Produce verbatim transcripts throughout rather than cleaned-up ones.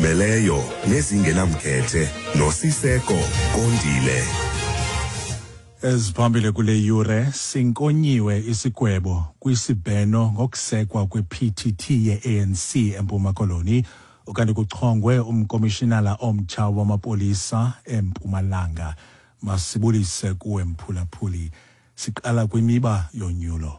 Ezizimeleyo nezingenamkhethe noSiseko Kondile. Eziphambili kule yure, sinkonyiwe isigwebo kwisibheno ngokusekwa kwe-P T T ye-A N C eMpuma Koloni, ukanti kuchongwe umkomishinala omtsha wamapolisa eMpumalanga. Masibulise kuwe mphulaphuli. Siqala kwimiba yonyulo.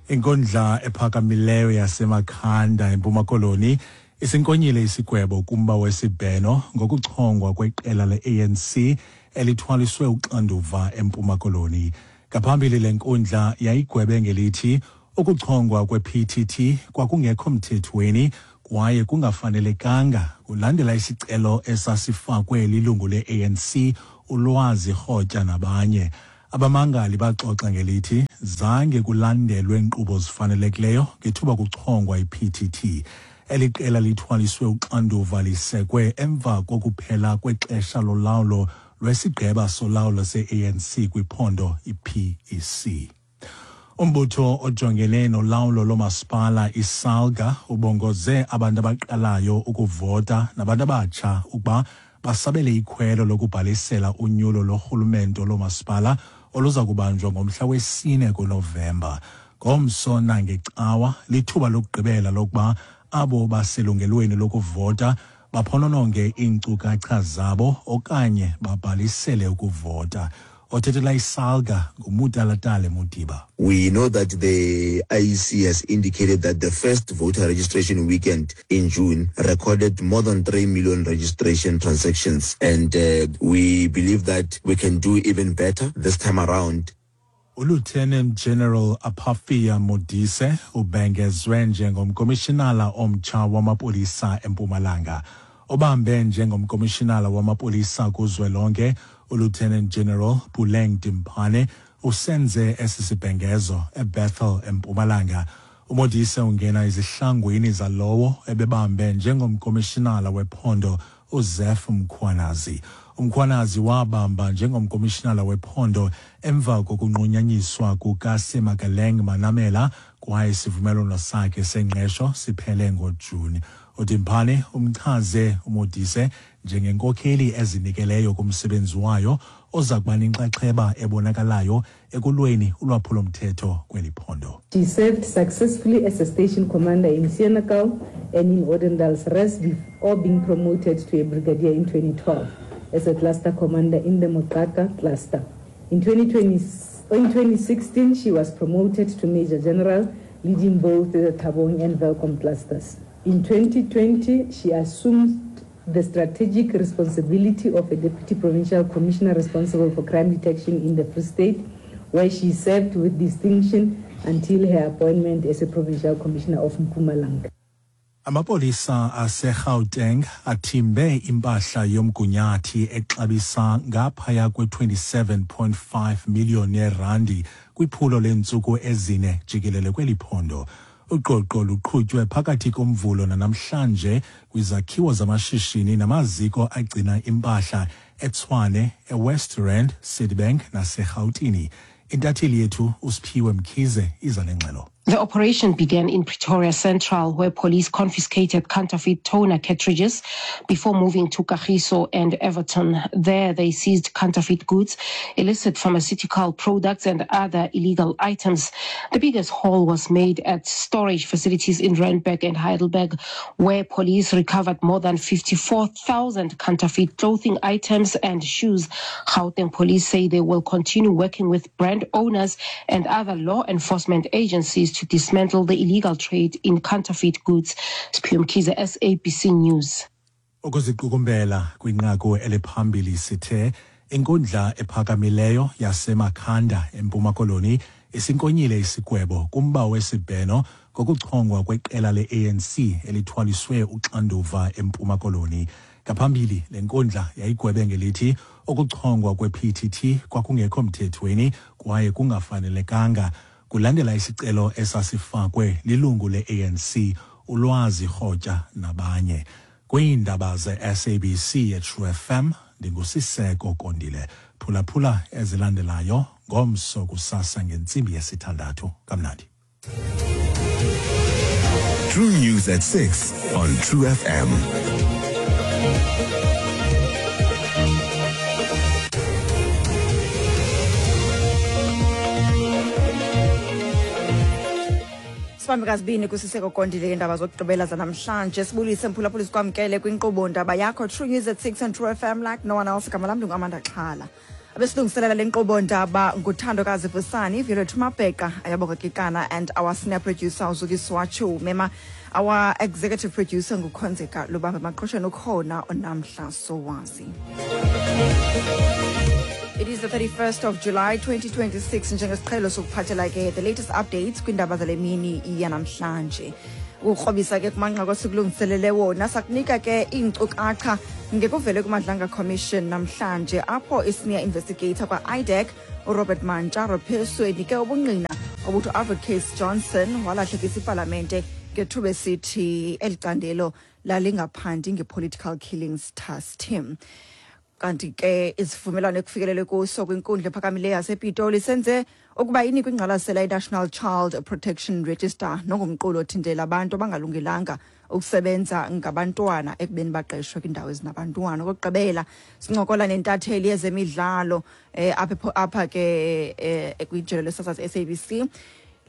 Inkundla ephakamileyo yaseMakhanda eMpuma Koloni isinkonyile isigwebo kumba wesibheno ngokuchongwa kweqela le-A N C elithwaliswe uxanduva eMpuma Koloni. Ngaphambili le nkundla yayigwebe ngelithi ukuchongwa kwe-P T T kwakungekho mthethweni kwaye kungafanelekanga kulandela isicelo esasifakwe lilungu le-A N C uLwazi Rhotya nabanye. Abamangali baxoxa ngelithi zange kulandelwe inkqubo zifanelekileyo ngethuba kuchongwa i-P T T. Eli qela lithwaliswe uxanduva lisekwe emva kokuphela kwexesha lolawulo lwesigqeba solawulo se-A N C kwiphondo i-P E C. Umbutho ojongene nolawulo lomasipala iSALGA ubongoze abantu abaqalayo ukuvota nabantu abatsha ukuba basabele ikhwelo lokubhalisela unyulo lorhulumento lomasipala oluza kubanjwa ngomhla wesine kuNovemba. Ngomso nangecawa lithuba lokugqibela lokuba abo baselungelweni lokuvota baphonononge iinkcukacha zabo okanye babhalisele ukuvota. Othethela iSALGA nguMutalatale Modiba. We know that the I E C has indicated that the first voter registration weekend in June recorded more than three million registration transactions, and uh, we believe that we can do even better this time around. Lieutenant General Aphafia Modise ubhengezwe njengomkomishinala omtsha wamapolisa eMpumalanga. Obambe njengomkomishinala wamapolisa kuzwelonke, uLieutenant General Puleng Dimpane usenze esi sibhengezo eBethel eMpumalanga. uModise ungena ezihlangwini zalowo ebebambe njengomkomishinala wephondo uZeph Mkhwanazi. Umkhwanazi wabamba njengomkomishinala wephondo emva kokunqunyanyiswa kukaSemakaleng Manamela kwaye isivumelwano sakhe sengqesho siphele ngoJuni. uDimpane umchaze uModise njengenkokheli ezinikeleyo kumsebenzi wayo oza kuba nenxaxheba ebonakalayo ekulweni ulwaphulo-mthetho kweli phondo. She served successfully as a station commander in Senekal and in Odendaalsrus before being promoted to a brigadier in twenty twelve as a cluster commander in the Moqhaka cluster. In twenty twenty, in twenty sixteen, she was promoted to Major General, leading both the Thabong and Welkom clusters. In twenty twenty, she assumed the strategic responsibility of a Deputy Provincial Commissioner responsible for crime detection in the Free State, where she served with distinction until her appointment as a Provincial Commissioner of Mpumalanga. Amapolisa aseGauteng athimbe impahla yomgunyathi exabisa ngaphaya kwe-twenty-seven point five million yerandi kwiphulo leentsuku ezine jikelele kweli phondo. Uqoqo luqhutywe phakathi komvulo nanamhlanje kwizakhiwo zamashishini namaziko agcina impahla eTshwane, eWest Rand, Citibank naseRhawutini. Intatheli yethu uSiphiwe Mkhize iza nengxelo. The operation began in Pretoria Central, where police confiscated counterfeit toner cartridges before moving to Kagiso and Everton. There, they seized counterfeit goods, illicit pharmaceutical products and other illegal items. The biggest haul was made at storage facilities in Randburg and Heidelberg, where police recovered more than fifty-four thousand counterfeit clothing items and shoes. Gauteng police say they will continue working with brand owners and other law enforcement agencies to dismantle the illegal trade in counterfeit goods. Siphiwe Mkhize, S A B C News. Ukuziqukumbela kwinqaku eliphambili sithe inkundla ephakamileyo yaseMakhanda eMpuma Koloni isinkonyile isigwebo kumba wesibheno ngokuchongwa kweqela le-A N C elithwaliswe uxanduva eMpuma Koloni. Ngaphambili le nkundla yayigwebe ngelithi ukuchongwa kwe-P T T kwakungekho mthethweni kwaye kungafanelekanga kulandela isicelo esasifakwe lilungu le-A N C uLwazi Rhotya nabanye. Kwiindaba ze-S A B C ye-True F M ndinguSiseko Kondile. Phulaphula ezilandelayo ngomso kusasa ngentsimbi yesithandathu. Kamnandi. True News at six on True F M. Sibambe kazibini kuSiseko Kondile indaba zokugqibela zanamhlanje. Sibulise mphulaphuli sikwamkele kwinkqubo ndaba yakho True News at six on True F M like no one else. Igama lam ndinguAmanda Xhala. Abesilungiselela le nkqubo ndaba nguThandokazi Vusani, Violet Mabheka, Ayabonga Kikana, and our senior producer uZukiswa Mema. Our executive producer nguKhonzeka Lubambe Maqhosheni ukhona uNamhla Sowazi. It is the thirty-first of July twenty twenty-six. Njengesiqhelo sokuphathela ke the latest updates kwindaba zale mini yanamhlanje. Ukukrobisa ke kumanqaku esikulungiselele wona, sakunika ke iinkcukacha ngekuvele kuMadlanga Commission namhlanje apho i-senior investigator kwa-I D E C uRobert Mantsha Raphesu enike ubungqina obuthi Alfred Case Johnson walahlekisa ipalamente ngethuba esithi eli candelo lalingaphandi nge-political killings task team. Kanti ke isivumelwano ekufikelelwe kuso kwinkundla ephakamileyo yasePitoli senze ukuba inikwe ingqwalasela i-National Child Protection Register nongumqulu othintela abantu abangalungelanga ukusebenza ngabantwana ekubeni baqeshwe kwiindawo ezinabantwana. Okokugqibela sincokola nentatheli yezemidlalo eh, apha apha ke eh, kwijelo lesasazi S A B C.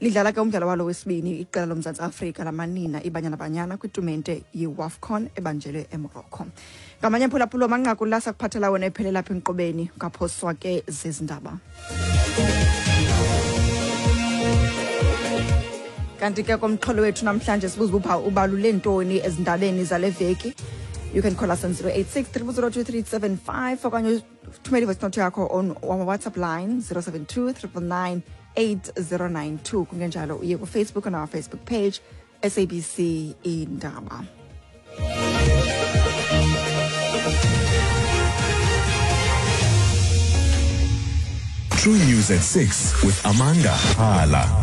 Lidlala ke umdlalo walo wesibini iqela loMzantsi Afrika lamanina iBanyana Banyana kwitumente yeWAFCON ebanjelwe eMorocco. Ngamanye phulaphula amanqaku la sakuphathela wona ephelela apha enkqubeni ngaphoswa ke zezindaba. Kanti ke komxholo wethu namhlanje sibuza uba ubalule ntoni ezindabeni zale veki. You can call us on zero eight six, three zero two, three seven five okanye uthumele voice note yakho on our WhatsApp line zero seven two, triple nine, eight zero nine two. Kungenjalo uye ku Facebook on our Facebook page S A B C Indaba. True News at six with Amanda Hala.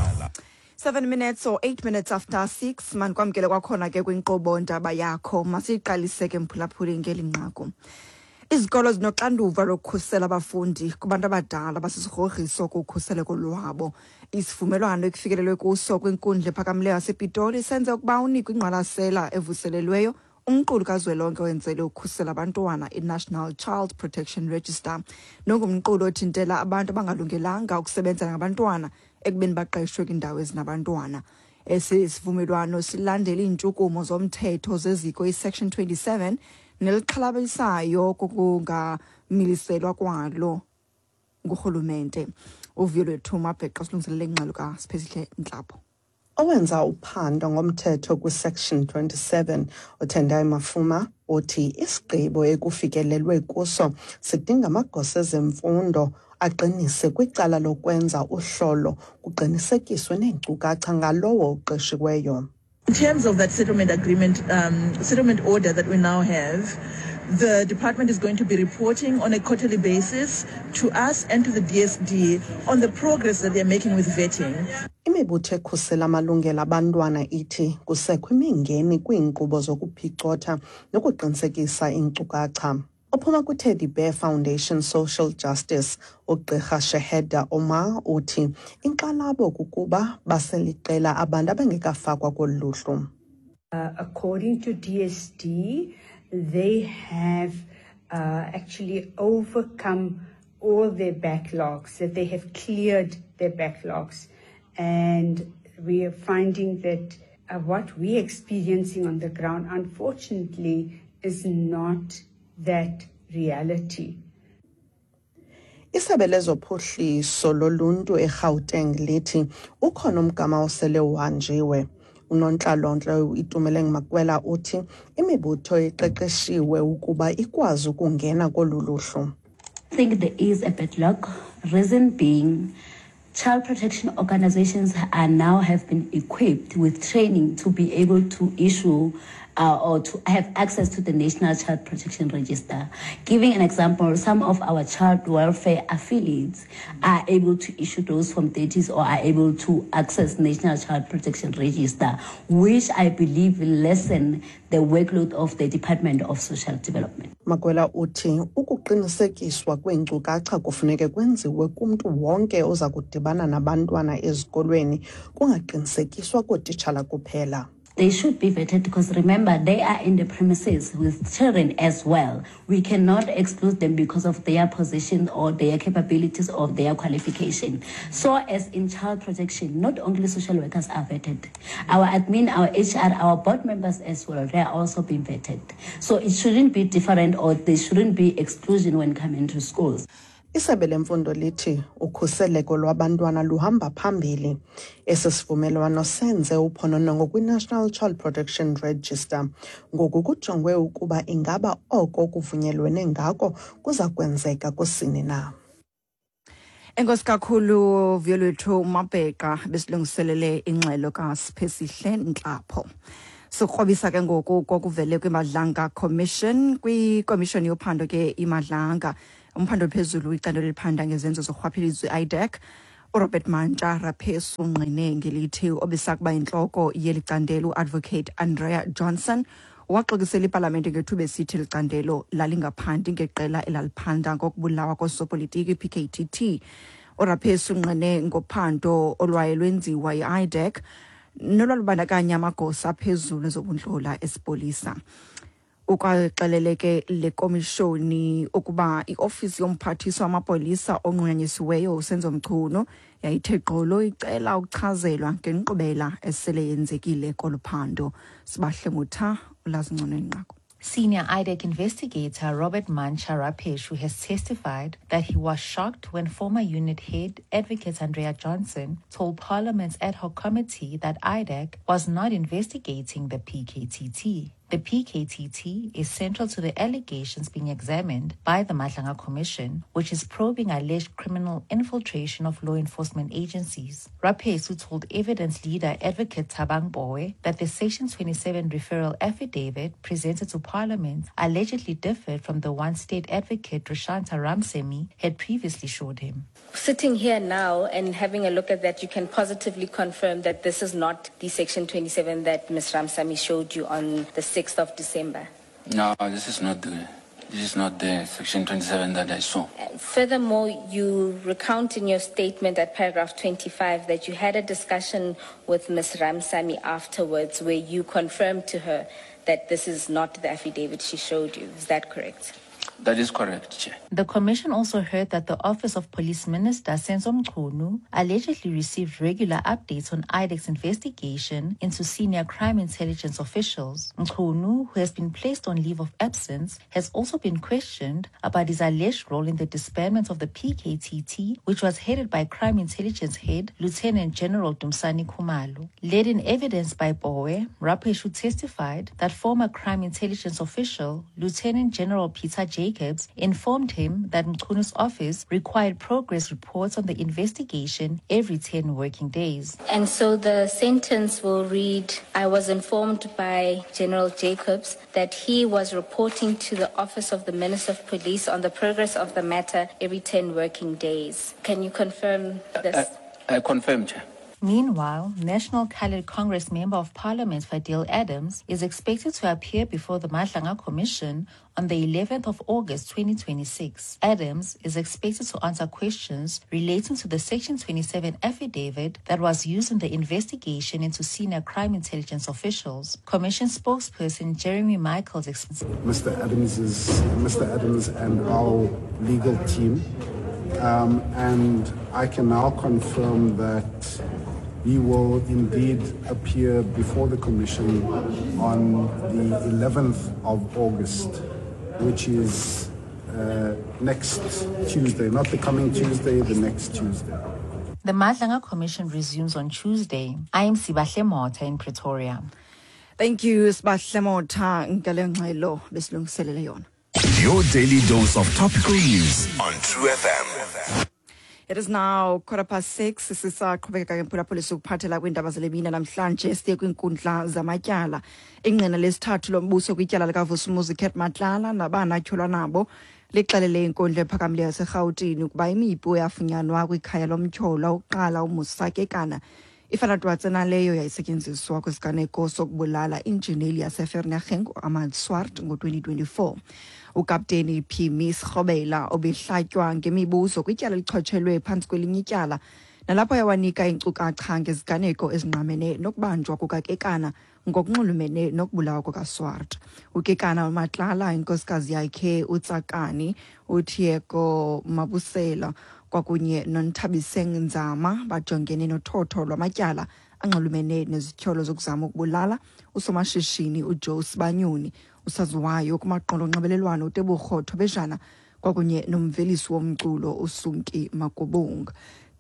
Seven minutes or eight minutes after six, mankwamkele kwakhona ke kwinkqubo ndaba yakho. Masiyiqalise ke mphulaphuli ngeli nqaku. Izikolo zinoxanduva lokukhusela abafundi kubantu abadala abasisigrogriso kukhuseleko lwabo. Isivumelwano ekufikelelwe kuso kwinkundla ephakamileyo yasePitoli senze ukuba unikwe ingqwalasela evuselelweyo umqulu kazwelonke owenzelwe ukukhusela abantwana i-National Child Protection Register nongumqulu othintela abantu abangalungelanga ukusebenza ngabantwana ekubeni baqeshwe kwiindawo ezinabantwana. Esi sivumelwano silandela iintshukumo zomthetho zeziko i-Section twenty-seven nelixhalabisayo kokungamiliselwa kwalo ngurhulumente. Uvuyo lwethu Mabheqa silungiselele ingxelo kaSiphesihle Ntlapho. Owenza uphando ngomthetho kwi-Section twenty-seven, uTendai Mafuma, uthi isigqibo ekufikelelwe kuso sidinga amagosa ezemfundo aqinise kwicala lokwenza uhlolo kuqinisekiswe neenkcukacha ngalowo uqeshiweyo. In terms of that settlement agreement, um, settlement order that we now have, the department is going to be reporting on a quarterly basis to us and to the D S D on the progress that they're making with vetting. Imibutho ekhusela amalungelo abantwana ithi kusekho imingeni kwiinkqubo zokuphicotha nokuqinisekisa iinkcukacha. Ophuma kwi-Teddy Bear Foundation Social Justice, uGqirha Sheheda Omar uthi inkxalabo kukuba baseliqela abantu abengekafakwa kolu luhlu. Uh, according to D S D, they have uh, actually overcome all their backlogs, that they have cleared their backlogs. And we are finding that uh, what we're experiencing on the ground, unfortunately, is not that reality. Isebe lezophuhliso loluntu eGauteng lithi ukhona umgama osele uhanjiwe. Unontlalontle Itumeleng Makwela uthi imibutho iqeqeshiwe ukuba ikwazi ukungena kolu luhlu. I think there is a backlog, reason being child protection organizations are now have been equipped with training to be able to issue uh, or to have access to the National Child Protection Register. Giving an example, some of our child welfare affiliates are able to issue those from thirties or are able to access National Child Protection Register, which I believe will lessen the workload of the Department of Social Development. Makwela uthi ukuqinisekiswa kweenkcukacha kufuneke kwenziwe kumntu wonke oza kudibana nabantwana ezikolweni, kungaqinisekiswa kootitshala kuphela. They should be vetted because, remember, they are in the premises with children as well. We cannot exclude them because of their position or their capabilities or their qualification. So as in child protection, not only social workers are vetted. Our admin, our H R, our board members as well, they are also being vetted. So it shouldn't be different, or there shouldn't be exclusion when coming to schools. Isebe lemfundo lithi ukhuseleko lwabantwana luhamba phambili. Esi sivumelwano senze uphononongo kwi-National Child Protection Register. Ngoku kujongwe ukuba ingaba oko kuvunyelwene ngako kuza kwenzeka kusini na. Enkosi kakhulu Vuyolwethu Mabheqa besilungiselele ingxelo kaSiphesihle Ntlapho. Sikrobisa ke ngoku kokuvele kwiMadlanga Commission, kwikomishoni yophando ke iMadlanga, umphando phezulu icandelo eliphanda ngezenzo zorhwaphilizo I D E C, uRobert Mantsha Raphesu ungqine ngelithi obesakuba intloko yeli candelo uAdvocate Andrea Johnson waxokisela ipalamente ngethuba esithi eli candelo lalingaphandi ngeqela elaliphanda ngokubulawa koosopolitiki I P K T T. URaphesu ungqine ngophando olwaye lwenziwa yi-I D E C nolwalubandakanya amagosa aphezulu ezobundlola esipolisa. Ukwaxelele ke le komishoni ukuba iofisi yomphathiswa wamapolisa onqunyanyisiweyo uSenzo Mchunu yayithe gqolo icela ukuchazelwa ngenkqubela esele yenzekile kolu phando. Sibahle Mutha ulazi ngcono inqaku. Senior I D E C investigator Robert Mantsha Raphesu has testified that he was shocked when former unit head Advocate Andrea Johnson told Parliament's ad hoc committee that I D E C was not investigating the P K T T. The P K T T is central to the allegations being examined by the Madlanga Commission, which is probing alleged criminal infiltration of law enforcement agencies. Raphesu told evidence leader Advocate Thabang Mbowe that the Section twenty-seven referral affidavit presented to Parliament allegedly differed from the one state advocate Rashanta Ramsemi had previously showed him. Sitting here now and having a look at that, you can positively confirm that this is not the Section twenty-seven that Miz Ramsamy showed you on the sixth of December. No, this is not the, this is not the Section twenty-seven that I saw. Furthermore, you recount in your statement at paragraph twenty-five that you had a discussion with Miz Ramsamy afterwards where you confirmed to her that this is not the affidavit she showed you. Is that correct? That is correct, Chair. The Commission also heard that the Office of Police Minister Senzo Mchunu allegedly received regular updates on I D E C's investigation into senior crime intelligence officials. Mchunu, who has been placed on leave of absence, has also been questioned about his alleged role in the disbandment of the P K T T, which was headed by crime intelligence head Lieutenant General Dumsani Khumalo. Led in evidence by Bowe, Raphesu testified that former crime intelligence official Lieutenant General Peter Jacobs informed him that Mchunu's office required progress reports on the investigation every ten working days. And so the sentence will read, I was informed by General Jacobs that he was reporting to the Office of the Minister of Police on the progress of the matter every ten working days. Can you confirm this? I, I confirm, Chair. Meanwhile, National Coloured Congress Member of Parliament Fadil Adams is expected to appear before the Madlanga Commission on the eleventh of August twenty twenty-six. Adams is expected to answer questions relating to the Section twenty-seven affidavit that was used in the investigation into senior crime intelligence officials. Commission spokesperson Jeremy Michaels explained. Mister Adams is, Mister Adams and our legal team, um, and I can now confirm that he will indeed appear before the Commission on the eleventh of August, which is uh, next Tuesday, not the coming Tuesday, the next Tuesday. The Madlanga Commission resumes on Tuesday. I am Sibahle Motha in Pretoria. Thank you, Sibahle Motha. Ngale ngxelo besilungiselele yona. Your daily dose of topical news on True F M. It is now quarter past six. Sisaqhubeka ke mphulaphuli sokuphathela kwiindaba zale mini namhlanje siye kwiinkundla zamatyala. Ingqina lesithathu lombuso kwityala likaVusimuzi Cat Matlala nabanatyholwa nabo lixelele inkundla ephakamileyo yaseRhawutini ukuba imipu eyafunyanwa kwikhaya lomtyholwa uqala uMusakekana ifana twatse naleyo yayisetyenziswa kwisiganeko sokubulala injineli yaseVereeniging uAhmad Swart ngo-twenty twenty-four. Ukapteni Phimi Srobela obehlatywa ngemibuzo kwityala elichotshelwe phantsi kwelinye ityala Nalapho yawanika iinkcukacha ngeziganeko ezingqamene nokubanjwa kukaKekana ngokunxulumene nokubulawa kukaSwart. UKekana uMatlala, inkosikazi yakhe uTsakani, uTiego Mabusela kwakunye noNthabiseng Nzama bajongene nothotho lwamatyala anxulumene nezityholo zokuzama ukubulala usomashishini uJoe Sibanyoni, usaziwayo kumaqonga onxibelelwano uTebogo Thobejane kwakunye nomvelisi womculo uSunki Magubunga.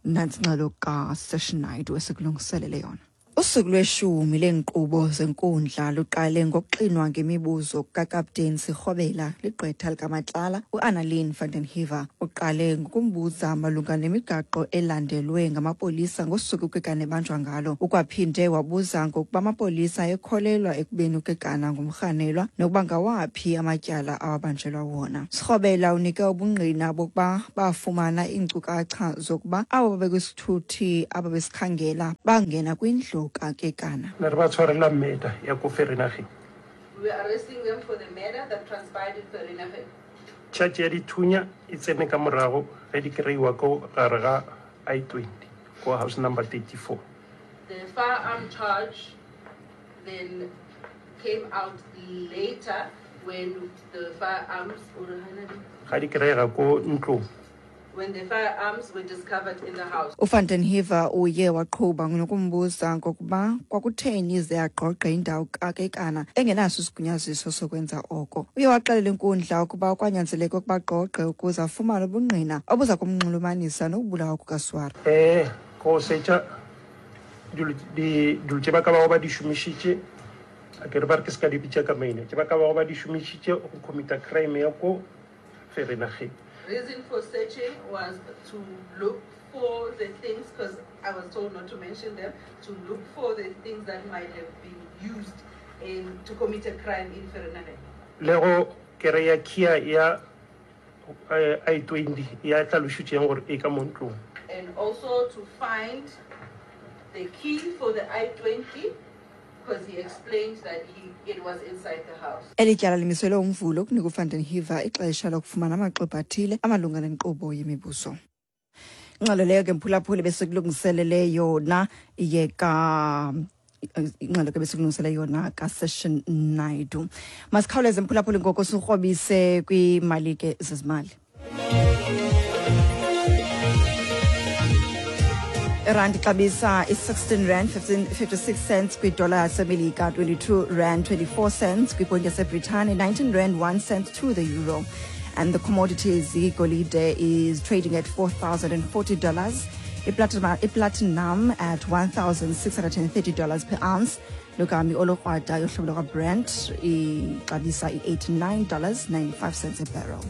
Nantsi ingxelo kaSession Naidu esikulungiselele yona. Usuku lweshumi leenkqubo zenkundla luqale ngokuxinwa ngemibuzo kukakapteni Sirhobela ligqwetha likaMatlala uAnnaline van den Heever. Uqale ngokumbuza malunga nemigaqo elandelwe ngamapolisa ngosuku uKekana ebanjwa ngalo. Ukwaphinde wabuza ngokuba amapolisa ekholelwa ekubeni uKekana ngumrhanelwa nokuba ngawaphi amatyala awabanjelwa wona. Sirhobela unike ubungqina bokuba bafumana iinkcukacha zokuba abo babekwisithuthi ababesikhangela bangena kwindlu kaKekana. Ne re ba tshwarela murder ya ko Vereeniging. We were arresting them for the murder that transpired in Vereeniging. Charge ya dithunya e tsene ka morago ge di kry-iwa ko gare ga I twenty ko house number thirty-four. The firearm charge then came out later when the firearms ga di kry-ega ko ntlong. when the firearms were discovered in the house. uVan den Heever uye waqhuba nokumbuza ngokuba kwakutheni ze agqogqe indawo kaKekana engenaso isigunyaziso sokwenza oko. Uye waxelela inkundla ukuba kwanyanzeleka ukuba agqogqe ukuze afumane ubungqina obuza kumnxulumanisa nokubulawa kukaSwart. Eh, go setša dilo di dilo tše ba ka bago ba di šomišitše, a ke re ba re ke se ka di bitša ka maina, tše ba ka bago ba di šomišitše go commit-a crime ya ko Vereeniging. Reason for searching was to look for the things, because I was told not to mention them, to look for the things that might have been used in to commit a crime in Vereeniging. Le go kry-a kia ya, eh, I twenty ya tlhalošitšeng gore e ka mo ntlong. And also to find the key for the I twenty, because he explained that he, it was inside the house. Eli tyala limiselwe uMvulo ukunika uVan den Heever ixesha lokufumana amaxwebhu athile amalunga nenkqubo yemibuzo. Ingxelo leyo ke mphulaphuli besikulungiselele yona yeka ingxelo ke besikulungisele yona kaSession Naidu. Masikhawuleze mphulaphuli ngoko sikrobise kwimali ke zezimali. Irandi ixabisa i-sixteen rand fifty-six cents kwidola yaseMelika, twenty-two rand twenty-four cents kwiponti yaseBritane, nineteen rand one cent to the euro. And the commodities, igolide is trading at four thousand and forty dollars, iplatinum at one thousand six hundred and thirty dollars per ounce. Lukami olokrwada yohlobo lwakwaBrent ixabisa i-eighty-nine dollars ninety-five cents a barrel.